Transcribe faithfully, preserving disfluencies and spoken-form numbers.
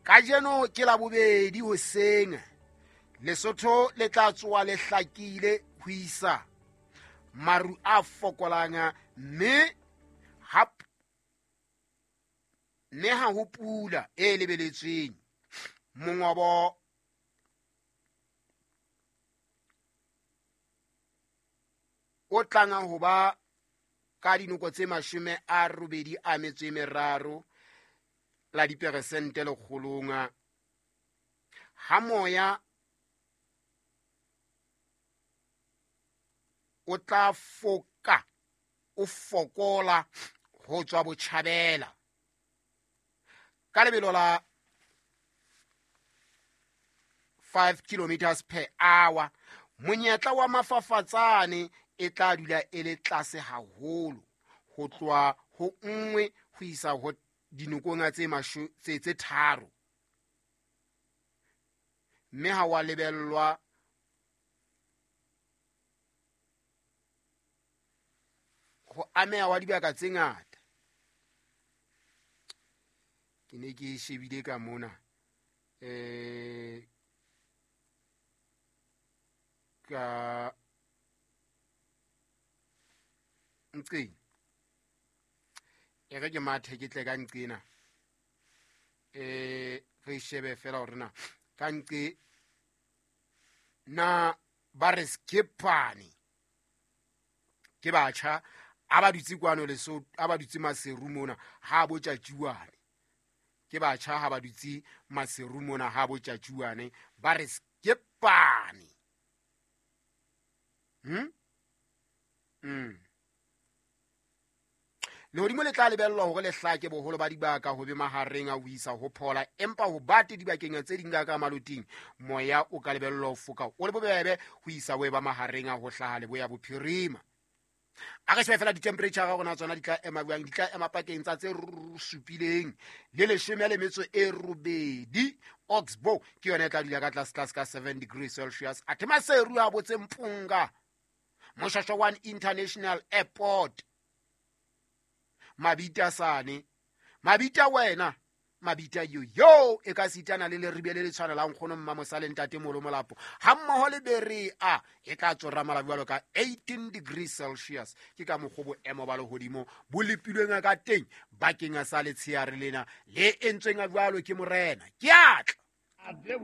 Kajeno ke la bobedi hoseng, Lesotho le tla tsoha le hlakile ho isa maru a fokolang, mme ha mme ha ho pula e lebeletsweng. Mongobo o tlang ho ba ka dinoko tse mashome a robedi a metso e meraro la diperesente lekgolong, ha moya o tla foka o fokola ho tswa botjhabela ka lebelo la five kilometers per hour. Monyetla wa mafafatsane e tla dula e le tlase haholo, ho tloha ho nngwe ho isa ho dinokong tse masho tse tse tharo, mme ha wa lebellwa ho ameha wa dibaka tse ngata. Ke ne ke shebile ka mona eh ka nqeng, e re ke mathe ke tle ka nqena, eh re shebe fela hore na ka nqe na ba re skipane ke batjha a ba dutse kwano Lesotho, a ba dutse Maseru mona ha bo tjatjuane. Ke batjha ha ba dutse Maseru mona ha bo tjatjuane, ba re skipane. Hmm? Mm. Lehodimo le tla lebellwa hore le hlake boholo ba dibaka ho be mahareng a ho isa ho phola, empa ho bate dibakeng tse ding ka maloting moya o ka lebellwa ho foka o le bobebe ho isa ho eba mahareng a ho hlaha leboya bophirima. A re shebe fela di-temperature ga rona tsona di tla ema jwang, di tla ema pakeng tsa tse supileng le leshome le metso e robedi. Oxbow ke yona e tla dula ka tlase tlase ka seven degrees Celsius. Athe Maseru a botse Mpunga, Moshasha one International Airport, Mabita sane, Mabita wena, Mabita yo yo e ka sitana le leribe le le tshwanelang nkgono Mmamosa le ntate Molo Molapo ha mmoho le Berea e tla tsorama jwalo ka eighteen degrees Celsius. Ke ka mokgwa boemo ba lehodimo bo lepilweng ka teng bakeng sa letsheare lena le entsweng jwalo ke morena. Ke atla.